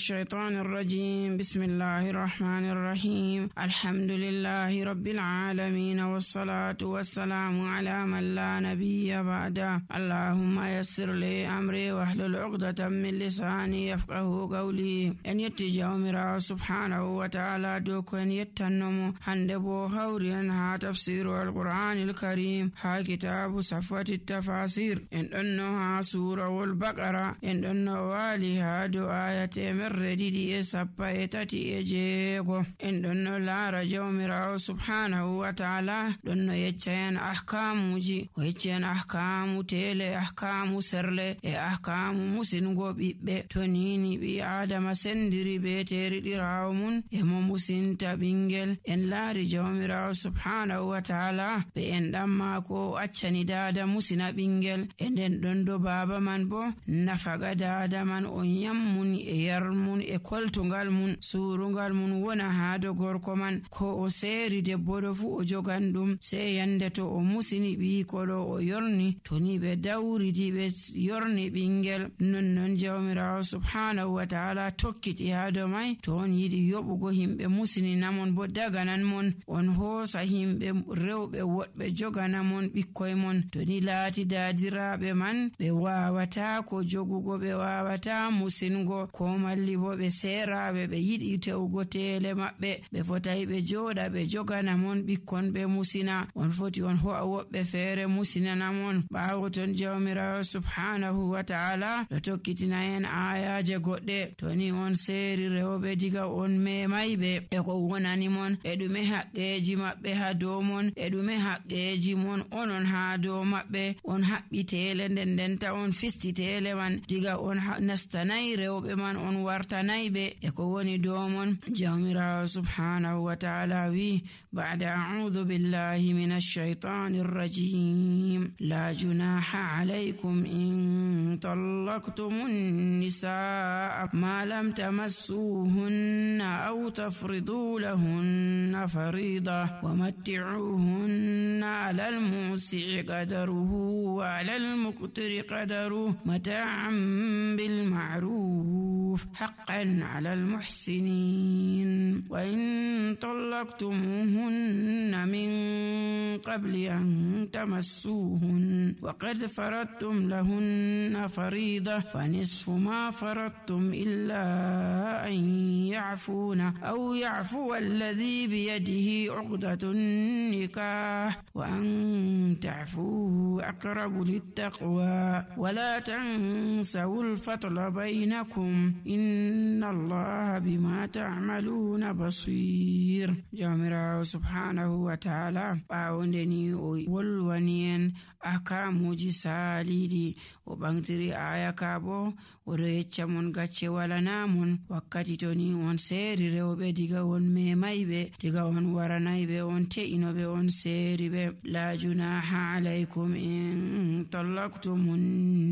الشيطان الرجيم. بسم الله الرحمن الرحيم. الحمد لله رب العالمين، والصلاة والسلام على من لا نبي بعده. اللهم يسر لي أمري واحلل عقدة من لساني يفقه قولي. en yetti jawmirawo subhanahu wa ta'ala dow ko en yettannomo hande bo hawri en ha tafsiru alqur'anil karim ha kitabu safwati tafasir. en ɗonno ha surawol baqara, en ɗonno wali ha dow aya 233. en ɗonno laara jawmirawo subhanahu wa ta'ala ɗonno yecca en ahkamuji, o yecci en ahkamu tele, ahkamu serle e ahkamu musingo ɓiɓɓe. to nini ɓi adama sendiri be teriɗirawo mun e mo musinta ɓingel, en laari jawmirawo subhanahu wa ta'ala be en ɗan mako accani dada musina ɓingel, e nden ɗon do baba man bo nafaga dada man o yammun e yarmun e koltungal mun, surungal mun wona ha do gorko man. ko o seeri debbo ɗo fu o jogan ɗum, sei yande to o musini ɓiikoɗo o yorni, to ni ɓe dawridi ɓe yorni ɓingel. nonnon jawmirawo subhanahu wa ta'ala tokkiti ha do mai. to on yiɗi yoɓugo himɓe musininamon bo daganan mon, on hoosa himɓe rewɓe woɗɓe joganamon ɓikkoy mon. to ni laati daadiraɓe man ɓe wawata ko jogugo, ɓe wawata musingo, ko malli bo ɓe seraɓe ɓe yiɗi tewugo tele maɓɓe, ɓe fotai ɓe joɗa ɓe joganamon ɓikkon ɓe musina. on foti on ho'a woɓɓe feere musinanamon. ɓawo ton jawmirawo subhanahu wa ta'ala ɗo tokkitina en ayaje goɗɗe. to ni on seeri rewɓe diga on memayɓe e ko wonani mon, e ɗume haqqeji maɓɓe ha dow mon, e ɗume haqqeji mon onon ha dow maɓɓe. on haɓɓi tele ndendenta on fisti tele man, diga on nastanayi rewɓe man, on wartanayɓe e ko woni dow mon. jawmirawo subhanahu wa ta'ala wi ba'da a'udhu billahi minash shaitanir rajim. la junaha alaykum in tallaqtumun nisaa ma lam tamassuhunna aw tafridu lahunna farida wa matti'uhunna 'ala al-musi'i qadaruhu wa 'ala al-muqtiri qadaruhu mata'an bil ma'ruf haqqan 'ala al-muhsinin. wa in طلقتموهن من قبل أن تمسوهن وقد فرضتم لهن فريضة فنصف ما فرضتم إلا أن يعفون أو يعفو الذي بيده عقدة النكاح وأن تعفوا أقرب للتقوى ولا تنسوا الفضل بينكم إن الله بما تعملون بصير. jawmirawo subhanahu wa ta'ala ɓawonde ni o wolwani en ahkamuji saliɗi, o ɓantiri aya ka bo oɗo yecca mon gacce walanamon wakkati to ni on seeri rewɓe diga on memayɓe, diga on waranayɓe, on te'inoɓe, on seeriɓe. la junaha alaykum in tallaqtumun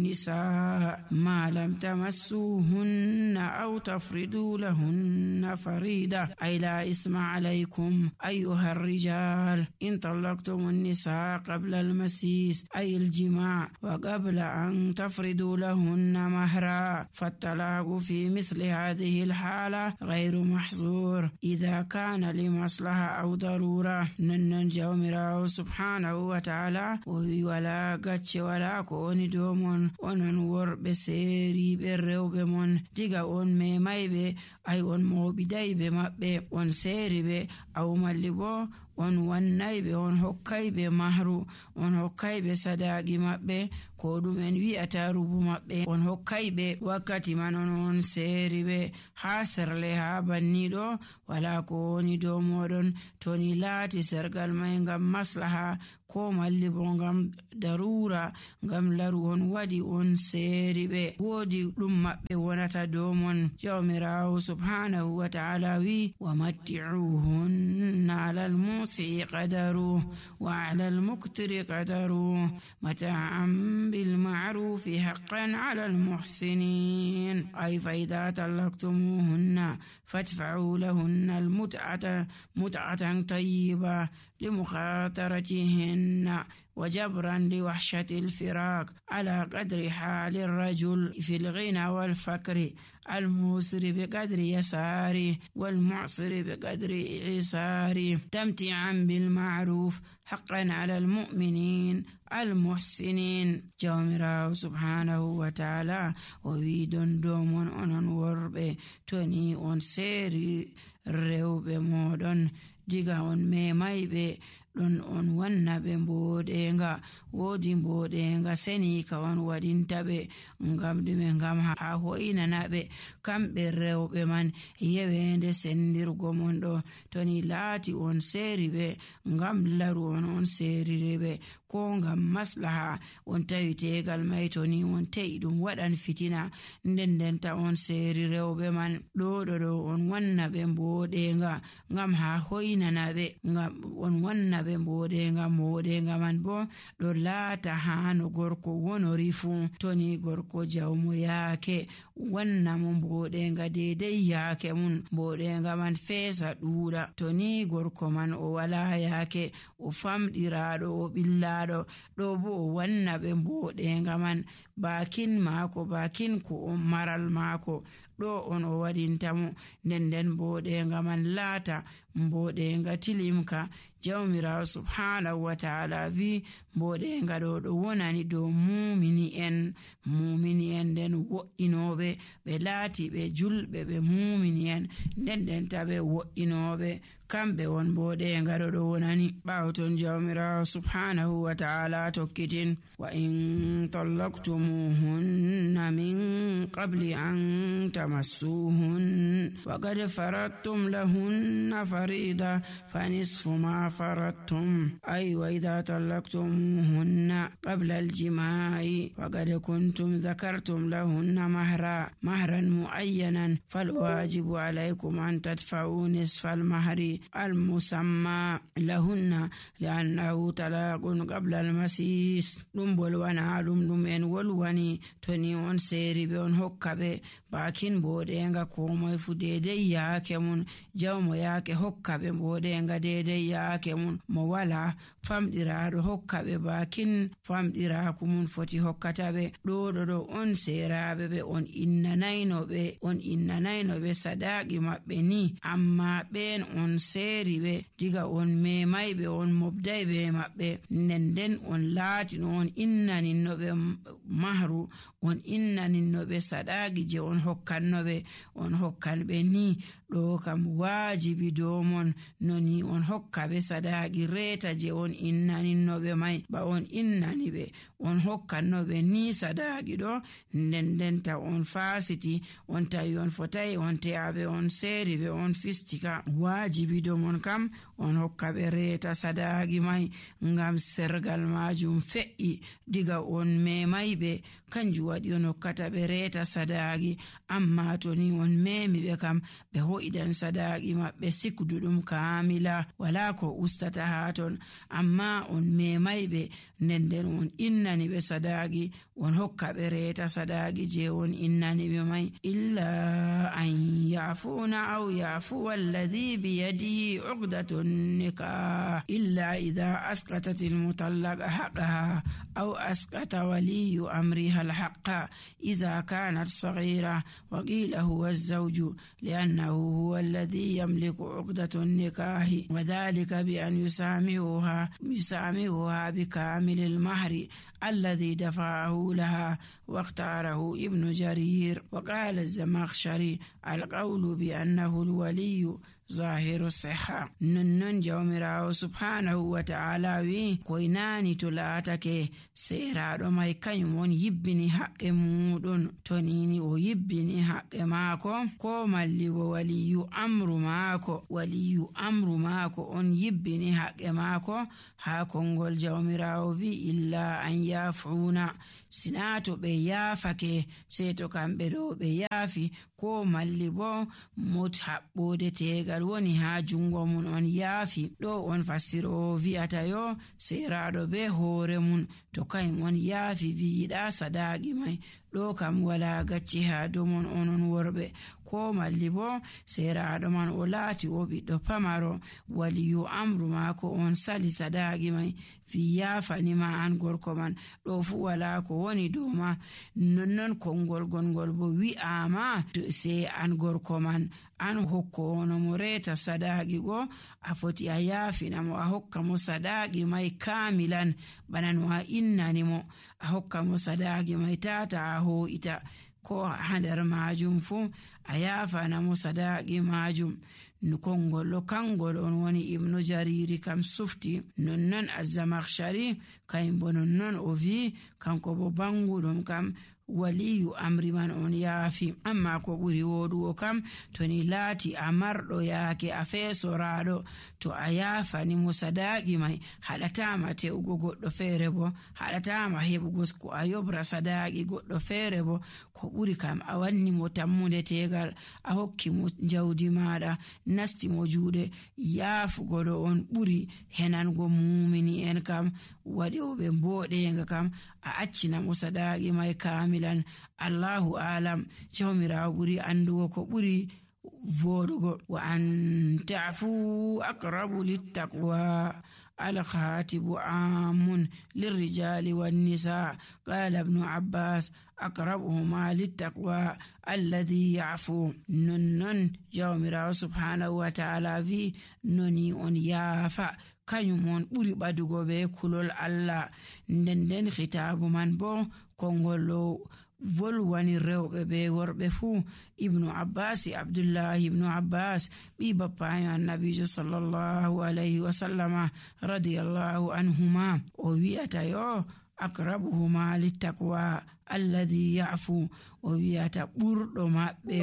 nisaa ma lam tamassuhunna aw tafridu lahunna farida ay la isma عليكم أيها الرجال إن طلقتم النساء قبل المسيس أي الجماع وقبل أن تفردوا لهن مهرا، فالطلاق في مثل هذه الحالة غير محظور إذا كان لمصلحة أو ضرورة. ننن جawmirawo subhanahu wa ta'ala o wi wala gacce wala ko woni dow mon onon worɓe seeriɓe rewɓe mon diga on memayɓe, ay on mawɓidayɓe maɓɓe, on seeriɓe aw malli bo on wannayɓe, on hokkayɓe mahru, on hokkayɓe sadaqi maɓɓe, ko ɗum en wi'ata rubu maɓɓe, on hokkayɓe wakkati man on seeriɓe ha serle ha banniɗo wala ko woni dow moɗon. to ni laati sergal may ngam maslaha ko malli bo ngam darura, ngam laru on waɗi on seeriɓe, woodi ɗum maɓɓe wonata dow mon. jawmirawo subhanahu wa ta'ala wi wa matti'uhunna 'ala al-musi'i qadaruhu wa 'ala al-muqtiri qadaruhu mata'an bil ma'rufi haqqan 'ala al-muhsinin. ay fa idha talaqtumuhunna fadfa'u lahunna al-mut'atan tayyiba لمخاطرتهن وجبرا لوحشة الفراق على قدر حال الرجل في الغنى والفقر، الموسر بقدر يساره والمعسر بقدر عساره، تمتعا بالمعروف حقا على المؤمنين المحسنين. جومراو سبحانه وتعالى وويدون دومون أنون وربي توني on سيري rewɓe moɗon diga on memayɓe ɗon on wanna ɓe mboɗenga, woodi mboɗenga seni ka on waɗinta ɓe ngam ɗume? Ngam ha hoynana ɓe kamɓe rewɓe man yewende sendirgo mon ɗo. To ni laati on seeri ɓe ngam laru on seeriri ɓe, ko ngam maslaha on tawi tegal may, to ni on te'i ɗum waɗan fitina, ndendenta on seeri rewɓe man ɗo on wanna ɓe mboɗenga ngam ha hoynana ɓe, ngam on wanna ɓe mboɗenga man bo ɗo laata hano gorko wonori fu. To ni gorko jawmo yaake wanna mo mboɗenga dedei yaake mun, mboɗenga man feesa ɗuuɗa. To ni gorko man o wala yaake, o famɗiraɗo, o ɓillaɗo, ɗo bo o wanna ɓe mboɗenga man bakin maako, bakin ko on maral maako ɗo on o waɗintamo, nden mboɗenga man laata mboɗenga tilimka. Jawmirawo subhanahu wa ta'ala vi mboɗenga ɗo wonani dow mumini en nden wo'inoɓe ɓe laati ɓe julɓe ɓe mumini en, ndendenta ɓe wo'inoɓe, kamɓe won mboɗenga ɗo wonani. ɓawton jawmirawo subhanahu wa ta'ala tokkitin wa in طلقتموهن من قبل أن تمسوهن وقد فرضتم لهن فريضة فنصف ما فرضتم، أي وإذا طلقتموهن قبل الجماع وقد كنتم ذكرتم لهن مهرا معينا، فالواجب عليكم أن تدفعوا نصف المهر المسمى لهن لأنه طلاق قبل المسيس. ɗumbol wana ɗum en wolwani to ni on seeri ɓe on hokka ɓe bakin mboɗenga komoy fu dedei yaake mun, jawmo yaake hokka ɓe mboɗenga dedei yaake mun, mo wala famɗiraɗo hokka ɓe bakin famɗiraku mun foti hokkata ɓe. ɗo on seeraɓe ɓe on innanayno ɓe sadaqi maɓɓe ni, amma ɓen on seeri ɓe diga on memay ɓe, on mobday ɓe maɓɓe, nden on laatino on innaninno ɓe mahru, on innaninno ɓe sadaqi je on hokkanno ɓe, on hokkan ɓe ni. ɗo kam waajibi dow mon noni on hokka ɓe sadaqi reeta je on innaninno ɓe may, ba on innani ɓe on hokkanno ɓe ni sadaqi ɗo, ndendenta on fasiti, on tawi on fotai on te'aɓe, on seeri ɓe, on fistika. waajibi dow mon kam on hokka ɓe reeta sadaqi may, ngam sergal majum fe'i diga on memay ɓe, kanjum waɗi on hokkata ɓe reeta sadaqi. amma to ni on memi ɓe kam ɓe ho'idan sadaqi maɓɓe sikduɗum kamila, wala ko ustata ha ton, amma on memay ɓe nden on innani ɓe sadaqi, on hokka ɓe reeta sadaqi je on innani ɓe may. illa an yafuna aw yafuwa alladhi biyadihi uqdatun nikah illa idha asqatat almutallaqa haqqaha aw asqata waliyu amriha الحق إذا كانت صغيرة، وقيل هو الزوج لأنه هو الذي يملك عقدة النكاح، وذلك بأن يسامحها بكامل المهر الذي دفعه لها. واختاره ابن جرير. وقال الزمخشري القول بأنه الولي ظاهر الصحة. ننن جومراو سبحانه وتعالى وي كويناني تلاتك سيرادو ماي كنيمون يبني حق مودون تونيني ويبني حق ماكو كو مالي وولي أمر ماكو on يبني حق ماكو هاكو نقول جومراو في إلا أن يافعونا sinato ɓe yaafake seto kamɓe ɗo ɓe yaafi, ko malli bo mot haɓɓode tegal woni ha jungo mun on yaafi. ɗo on fasiro vi'ata yo seraɗo be hoore mun to kayum on yaafi wi'iɗa sadaqi may, ɗo kam wala gacci ha domon onon worɓe, ko malli bo seraɗo man o laati o ɓiɗɗo pamaro waliyu amru maako on sali sadaqi mai fi yafanima an gorko man ɗo fu wala ko woni dow ma nonnon konngol gongol bo wi'ama sai an gorko man an hokkono mo reta sadaqi go a foti a yafina mo a hokka mo sadaqi mai kamilan bana no a innani mo a hokka mo sadaqi mai tata a ho'ita ko ha nder majum fu a yafana mo sadaqi majum kongol kangol on woni ibnu jariri kam sufti nonnon az-zamakhshari kaybo nonnon o vi kanko bo banguɗum kam waliyu amri man on yaafi amma ko ɓuri woɗugo kam to ni laati a marɗo yaake a feesoraɗo to a yaafani mo sadaqi mai haɗatama tewugo goɗɗo feere bo haɗatama heɓugo ko a yobra sadaqi goɗɗo feere bo ko ɓuri kam a wanni mo tammude tegal a hokki mo jawdi maɗa nasti mo juuɗe yaafugo ɗo on ɓuri henango mumini en kam waɗoɓe mboɗenga kam a accina mo sadaqi mai kamilan Allahu alam jawmirawo ɓuri andugo ko ɓuri voɗugo wa an ta'fu aqrabu littaqwa الخاتب عام للرجال والنساء قال ابن عباس أقربهما للتقوى الذي يعفو نن جاومرا سبحانه وتعالى في نوني on yaafa kanyum on ɓuri ɓadugo be kulol Allah nden khitabu man bo kongolo volwani rewɓe be worɓe fuu ibnu abbas abdullahi ibnu abbas ɓi bappayo annabijo sallallahu alayhi wa sallama radiyallahu anhuma o wi'ata yo akrabuhuma littaqwa alladhi ya'fu o wi'ata ɓurɗo maɓɓe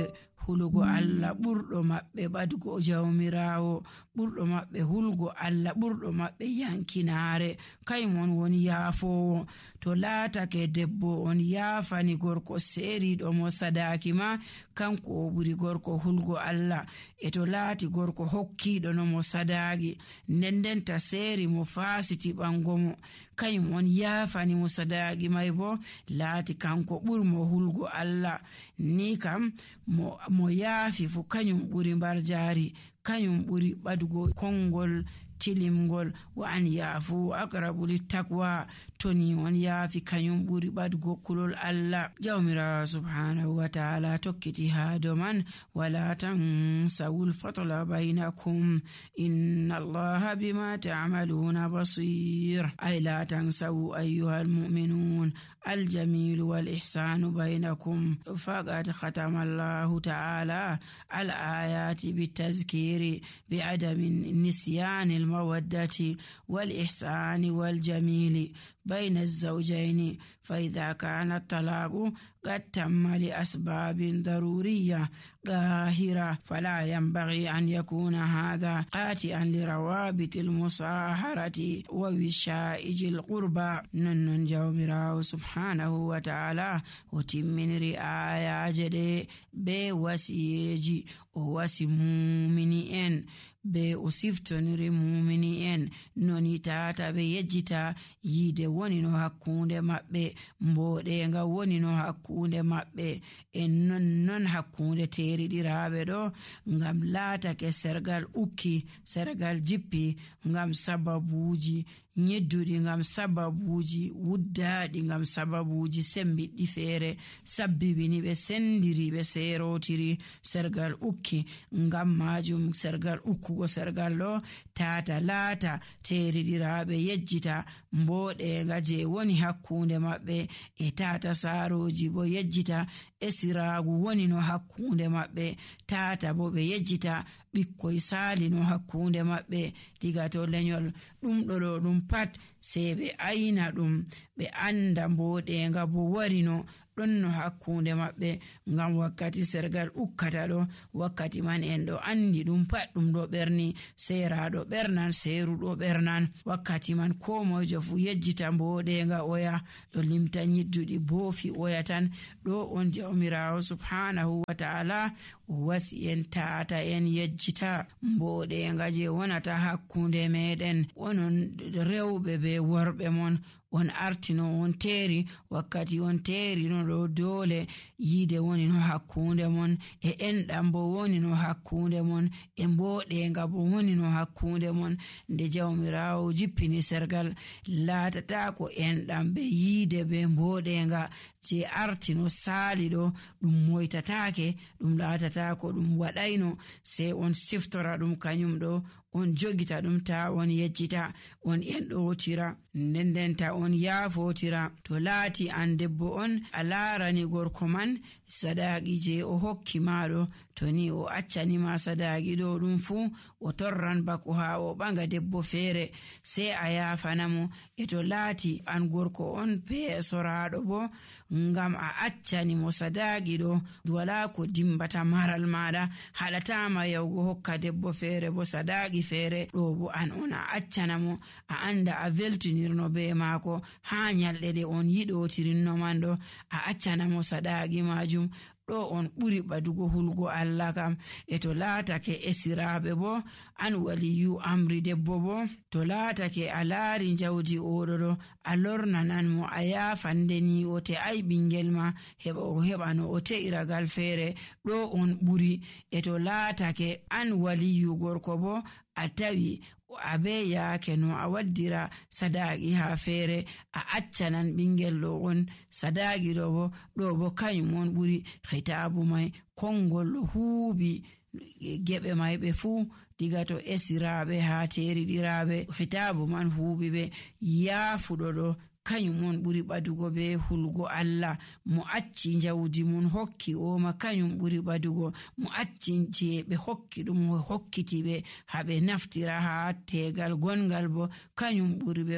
hulugo Allah ɓurɗo maɓɓe ɓadugo jawmirawo ɓurɗo maɓɓe hulgo Allah ɓurɗo maɓɓe yankinaare kaymon woni yaafowo to laatake debbo on yaafani gorko seeriɗo mo sadaki ma kanko o ɓuri gorko hulgo Allah e to laati gorko hokkiɗo no mo sadaki ndendenta seeri mo faasiti ɓango mo kaymon yaafani mo sadaki may bo laati kanko ɓurmo hulgo Allah ni kam mo yaafi fu kanyum ɓuri mbar jaari kanyum ɓuri ɓadugo kongol tilimgol wa an yaafu aqrabu littaqwa toni on yaafi kanyum ɓuri ɓadugo kulol Allah jawmira subhanahu wa ta'ala tokkiti ha doman wala tansawul fatla bainakum inna allaha bima ta'maluna basir ay la tansawu ayyuhal mu'minun الجميل والإحسان بينكم فقد ختم الله تعالى الآيات بالتذكير بعدم نسيان المودة والإحسان والجميل بين الزوجين فإذا كان الطلاق قد تم لأسباب ضرورية ظاهرة فلا ينبغي أن يكون هذا قاطعا لروابط المصاهرة ووشائج القربى نن جومراه سبحانه وتعالى وتمن رعاية جدي بوسيجي ووسي مؤمنين be o siftoniri mumini en noni tata be yejjita yide woni no hakkunde maɓɓe mboɗenga woni no hakkunde maɓɓe en non hakkunde teriɗiraɓe ɗo ngam laatake sergal ukki sergal jippi ngam sababuji nyedduɗi ngam sababuji wuddaɗi ngam sababuji sembiɗɗi feere sabbibini ɓe sendiri ɓe serotiri sergal ukki ngam majum sergal ukkugo sergal ɗo tata laata teriɗiraɓe yejjita mboɗenga je woni hakkunde maɓɓe e tata saroji bo yejjita esiragu woni no hakkunde maɓɓe tata bo ɓe yejjita ɓikkoy sali no hakkunde maɓɓe diga to lenyol ɗum ɗo ɗum pat sei ɓe ayna ɗum ɓe anda mboɗenga bo wari no ɗon no hakkunde maɓɓe ngam wakkati sergal ukkata ɗo wakkati man en ɗo andi ɗum pat ɗum ɗo ɓerni seraɗo ɓernan seruɗo ɓernan wakkati man ko mojo fu yejjita mboɗenga oya ɗo limta nyidduɗi boofi oya tan ɗo on jawmirawo subhanahu wa ta'ala wasi en tata en yejjita mboɗenga je wonata hakkunde meɗen onon rewɓe be worɓe mon. On artino on teeri wakkati on teeri no ɗo doole yiide woni no hakkunde mon e enɗam bo woni no hakkunde mon e mboɗenga bo woni no hakkunde mon. Nde Jawmirawo jippini sergal laatata ko enɗam be yiide be mboɗenga je artino saali ɗo ɗum moytatake, ɗum laatata ko ɗum waɗayno, sai on siftora ɗum kanyum ɗo on jogita ɗum ta on yejjita, on enɗotira ndendenta on yaafotira. To laati an debbo on a laarani gorko man sadaqi je o hokki maɗo, to ni o accanima sadaqi ɗo ɗum fu o torran bako ha o ɓanga debbo feere sai a yaafanamo. E to laati an gorko on peesoraɗo bo ngam a accanimo sadaqi ɗo wala ko dimbata maral maɗa, haɗatama yawgo hokka debbo feere bo sadaqi feere ɗo bo an on a accanamo, a anda a veltinirno be maako ha nyalɗe ɗe on yiɗotirinno man ɗo a accanamo sadaqi majum. ɗo on ɓuri ɓadugo hulgo Allah kam. E to laatake esiraɓe bo an waliyu amri debbo bo to laatake a laari jawdi oɗo ɗo a lornanan mo a yaafandeni o te ay ɓingel ma heɓa o heɓa no o te'iragal feere, ɗo on ɓuri. E to laatake an waliyu gorko bo a tawi abe yaake no a waddira sadaqi ha feere a accanan ɓingel ɗo on sadaqi ɗo bo kanyum on ɓuri. Khitabu mai kongol ɗo huuɓi geɓe mai ɓe fuu diga to esiraɓe ha teriɗiraɓe, khitabu man huuɓi ɓe yaafuɗo ɗo kanyum on ɓuri ɓadugo be hulgo Allah. Mo acci jawdi mun hokki o ma kanyum ɓuri ɓadugo, mo acci je ɓe hokki ɗum hokkiti ɓe haɓe naftira ha tegal gongal bo kanyum ɓuri ɓe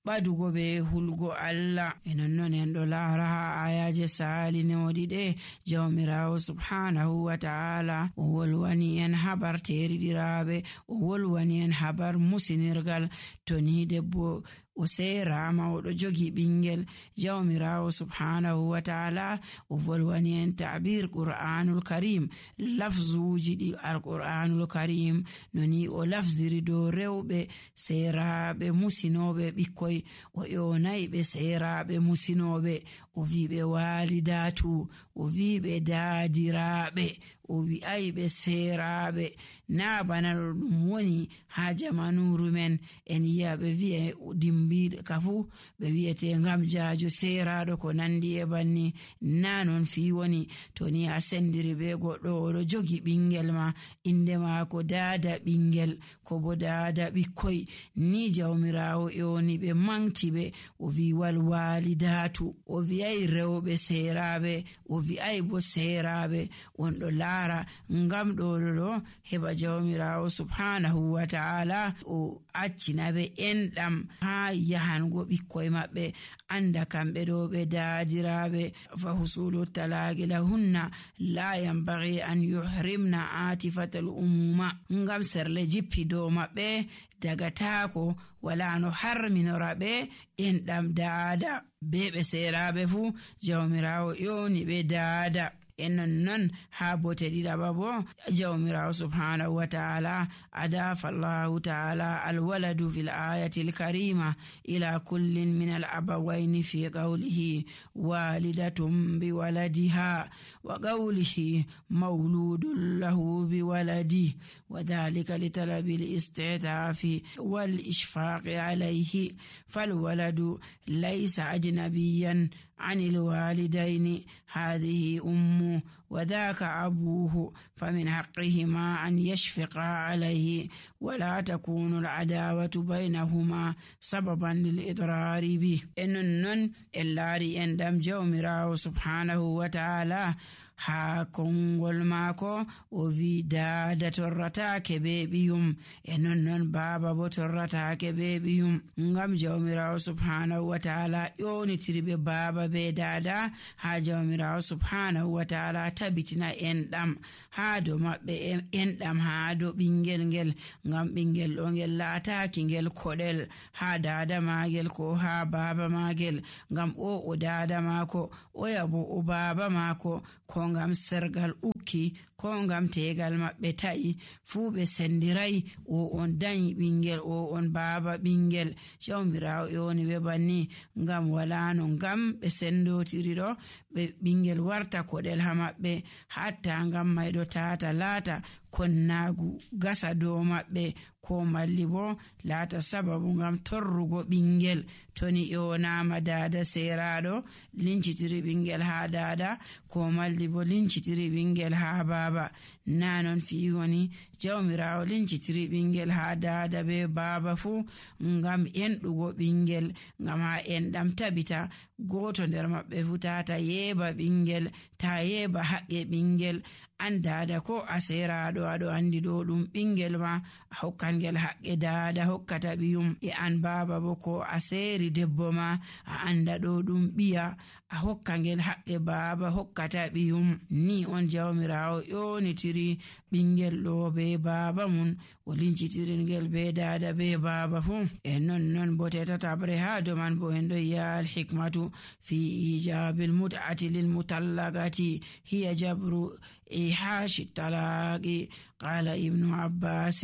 ɓadugo be hulgo Allah. E nonnon en ɗo laara ha ayaje salinoɗi ɗe Jawmirawo subhanahu wa ta'ala o wolwani en habar teriɗiraɓe, o wolwani en habar musinirgal. To ni debbo o seerama o ɗo jogi ɓingel, Jawmirawo subhanahu wa ta'ala o volwani en ta'bir Qur'anul Karim, lafzuji ɗi al-Qur'anul Karim noni o lafziri do rewɓe seeraɓe musinoɓe ɓikkoy, o yonayi ɓe seeraɓe musinoɓe, o wiɓe walidatu, o wiɓe daadiraɓe, o wi'ay ɓe seeraɓe. Na bana ɗum woni ha jamanuru men en yi'a ɓe wi'e dimbiɗo kafu ɓe wi'ete ngam jaajo seeraɗo ko nandi e banni. Na non fi woni. To ni a sendiri be goɗɗo oɗo jogi ɓingel ma inde maako daada ɓingel ko bo daada ɓikkoy, ni Jawmirawo yoni ɓe manti ɓe, o wi wal walidatu, o wi'ay rewɓe seeraɓe, o wi'ay bo seeraɓe. On ɗo laara ngam ɗo heɓa Jawmirawo subhanahu wa ta'ala o accina ɓe enɗam ha yahango ɓikkoy maɓɓe anda kamɓe ɗo ɓe daadiraɓe. Fa husulu talaqi lahunna la yanbaghi an yuhrimna atifatal umuma, ngam serle jippi dow maɓɓe daga taako wala no harminora ɓe enɗam daada be ɓe seeraɓe fu Jawmirawo yoni ɓe daada. En non ha bote ɗiɗaɓa bo Jawmirawo subhanahu wa ta'ala adafa Allahu ta'ala alwaladu fil ayati alkarima ila kullin min al-abawayni fi qawlihi walidatun bi waladiha wa qawlihi mawludun lahu bi waladi wa dhalika litalabi al-istitafi wal ishfaqi alayhi fal waladu laysa ajnabiyan عن الوالدين، هذه أمه وذاك أبوه، فمن حقهما أن يشفقا عليه ولا تكون العداوة بينهما سببا للإضرار به. إنن اللاري أندم جومراو سبحانه وتعالى ha kongol maako o wi daada torratake be ɓiyum, e non baaba bo torratake be ɓiyum, ngam Jawmirawo subhanahu wa ta'ala ƴonitiriɓe baaba be daada ha Jawmirawo subhanahu wa ta'ala tabitina enɗam ha do maɓɓe, enɗam ha do ɓingel ngel, ngam ɓingel ɗo ngel laataki ngel koɗel ha daada magel ko ha baaba magel, ngam o daada maako o yabo o baaba maako ko ngam sergal hukki ko ngam tegal maɓɓe ta'i fuu ɓe sendirai o on danyi ɓingel o on baaba ɓingel. Jawmirawo yoni ɓe banni ngam wala no ngam ɓe sendotiri ɗo ɓe ɓingel warta koɗel ha maɓɓe hatta ngam mayɗo tata laata konnagu gasa dow maɓɓe ko malli bo laata sababu ngam torrugo ɓingel. Toni yonama dada seraɗo lincitiri ɓingel ha dada ko malli bo lincitiri ɓingel ha baba. Nanon fi woni jawmirawo lincitiri ɓingel ha dada be baba fu ngam enɗugo ɓingel, ngam ha enɗam tabita goto nder maɓɓe fu tata yeba ɓingel, ta yeba haqqe ɓingel. An dada ko a seraɗo aɗo andi ɗo ɗum ɓingel ma a hokkangel haqqe dada hokkata ɓiyum, e an baba bo ko a seri debbo ma a anda ɗo ɗum ɓiya a hokkangel haqqe baba hokkata ɓiyum. Ni on jawmirawo ƴonitiri ɓingel ɗo be baba mun o lincitiringel be dada be baba fu. E non bo tetabre ha doman bo en ɗo yi'a al-hikmatu fi ijabil mut'ati lil mutallaqati hiya jabru إيحاش الطلاق. قال ابن عباس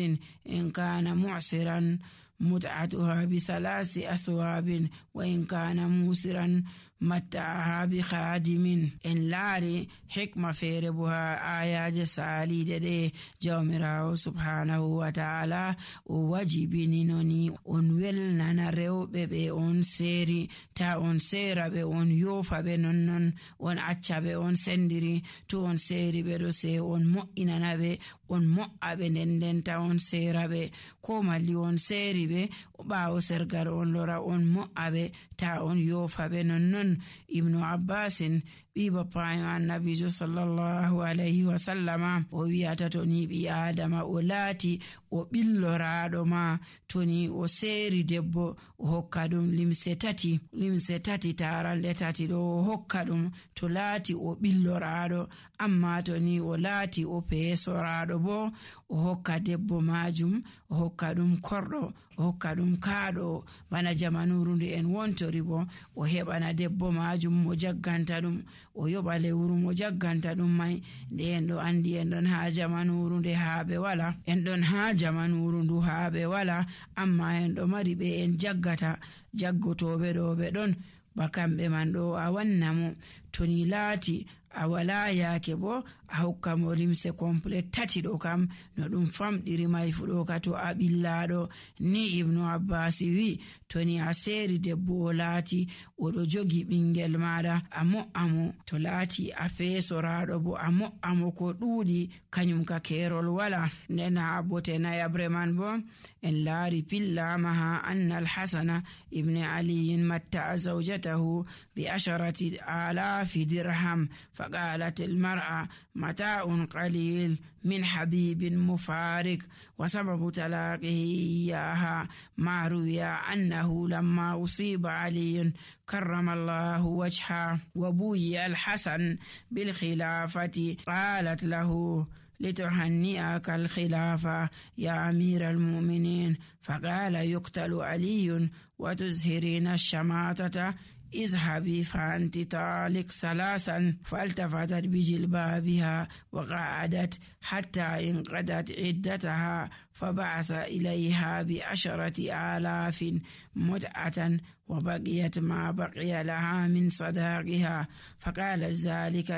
إن كان معسرا متعتها بثلاث أثواب وإن كان موسرا متعها بخادم. إن لاري حكمة فيربها آيات سالي دي جومراو سبحانه وتعالى وواجبيني نوني on welnana rewɓe ɓe on seeri ta on seera ɓe on yofa ɓe nonnon on acca ɓe on sendiri. To on seeri ɓe ɗo se on mo'inana ɓe on mo'a ɓe ndendenta on seera ɓe, ko malli on seeri ɓe ɓaawo sergal on lora on mo'a ɓe ta on yofa ɓe nonnon. Ibnu Abbasin ɓi bappayo annabijo sallallahu alayhi wa sallama o wi'ata to ni ɓi adama o laati o ɓilloraɗo ma, to ni o seeri debbo o hokka ɗum limse tati taranɗe tati ɗo o hokka ɗum to laati o ɓilloraɗo. Amma to ni o laati o peesoraɗo bo o hokka debbo majum o hokka ɗum korɗo o hokka ɗum kaaɗo. Bana jamanuru nde en wontori bo o heɓana debbo majum mo jagganta ɗum, o yoɓa lewru mo jagganta ɗum mai. Nde en ɗo andi en ɗon ha jamanuru nde haaɓe wala, en ɗon ha jamanuru ndu haaɓe wala, amma en ɗo mari ɓe en jaggata, jaggotoɓe ɗo ɓe ɗon ba kamɓe man ɗo a wanna mo. To ni laati a wala yaake bo a hokka mo limse complet tati ɗo kam no ɗum famɗiri mai fu ɗo ka to a ɓillaɗo. Ni Ibnu Abbas wi to ni a seeri debbo o laati oɗo jogi ɓingel maɗa a mo'a mo, to laati a feesoraɗo bo a mo'a mo ko ɗuuɗi, kañum ka kerol wala. Nden ha bote nayabre man bo en laari pillama ha anna al-Hasana ibni aliyin matta'a zawjatahu bi 10,000 dirham فقالت المرأة متاع قليل من حبيب مفارق. وسبب طلاقه إياها ما روي أنه لما أصيب علي كرم الله وجهه وبوي الحسن بالخلافة قالت له لتهنئك الخلافة يا أمير المؤمنين، فقال يقتل علي وتزهرين الشماتة، اذهبي فأنت طالق 3. فالتفتت بجلبابها وقعدت حتى انقضت عدتها، فبعث إليها ب10,000 متعة وبقيت ما بقي لها من صداقها. فقال ذلك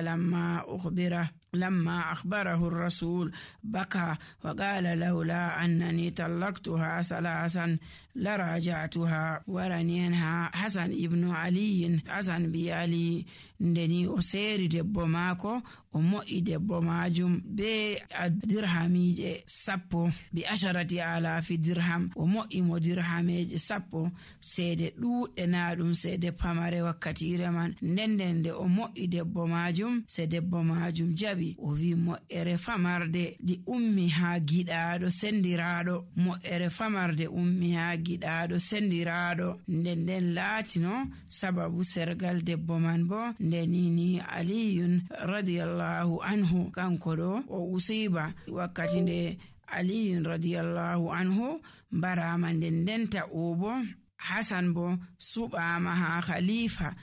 لما أخبره الرسول بكى وقال لولا أنني طلقتها 3 لراجعتها. ورنينها حسن ابن علي حسن بيالي ndeni o seeri debbo maako o mo'i debbo majum be dirhamije 10 bi 10,000 dirham o mo'i mo dirhameje 10 seede ɗuɗɗe na ɗum seede pamare wakkatire man. Nden nde o mo'i debbo majum se debbo majum jabi o wi mo'ere famarde di ummi ha giɗaɗo sendiraɗo, mo'ere famarde ummi ha giɗaɗo sendiraɗo. Nden laatino sababu sergal debbo man bo ndenini aliyun radiyallahu anhu kanko ɗo o usiba wakkati nde aliyun radiyallahu anhu barama ndendenta o bo Hasan bo suɓama ha khalifa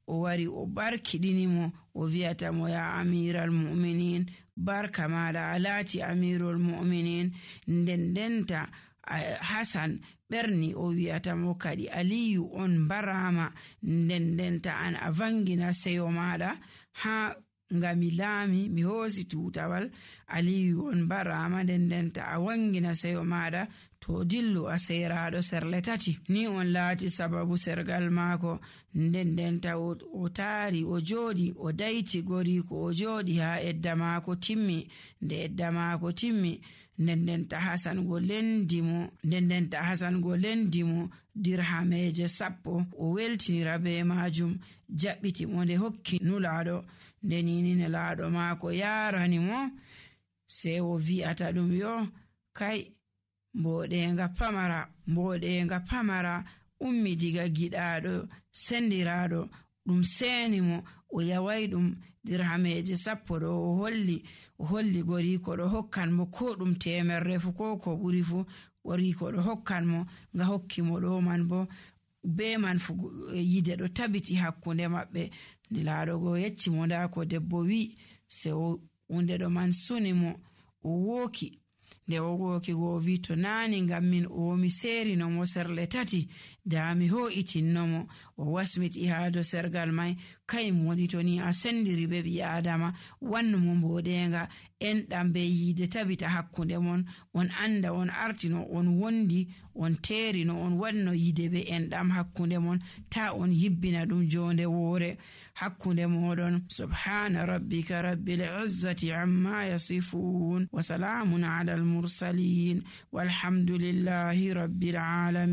o wari o barkiɗinimo o wi'ata mo ya amiral mu'minin, barka maɗa a laati amirul mu'minin. Ndendenta Hasan ɓerni o wi'ata mo kadi Aliyu on barama, ndendenta an a vangina seyo maɗa ha ngami laami mi hoosi tutawal. Aliyu on barama, ndendenta a wangina seyo maɗa to dillu a seyraɗo serle tati. Ni on laati sababu sergal maako. Ndendenta o taari o jooɗi o dayti goriko o jooɗi ha edda maako timmi. Nde edda maako timmi, ndendenta Hasan go lendimo dirhameje 10 o weltinira be majum, jaɓɓiti mo nde hokki nulaɗo. Nde nini nulaɗo maako yarani mo, sei o wi'ata ɗum yo kai mboɗenga pamara ummi diga giɗaɗo sendiraɗo, ɗum seni mo o yawai ɗum dirhameje 10 ɗo o holli goriko ɗo hokkan mo ko ɗum 100 fu ko ɓuri fu. Goriko ɗo hokkan mo nga hokki mo ɗo man bo be man fu yide ɗo tabiti hakkunde maɓɓe. Nelaɗo go yecci mo nda ko debbo wi, se hunde ɗo man suni mo o woki. Nde o woki go wi to nani ngam min o mi serino mo serle tati da mi ho'itinno mo. O wasmiti ha do sergal mai, kai mo woni to ni a sendiri be ɓi adama, wannu mo mboɗenga enɗam be yide tabita hakkunde mon, on anda on artino on wondi on terino on wanno yide be enɗam hakkunde mon, ta on yibbina ɗum jonde woore hakkunde moɗon. Subhana rabbika rabbil izzati amma yasifun wa salamun ala al mursalin walhamdulillahi rabbil alamin.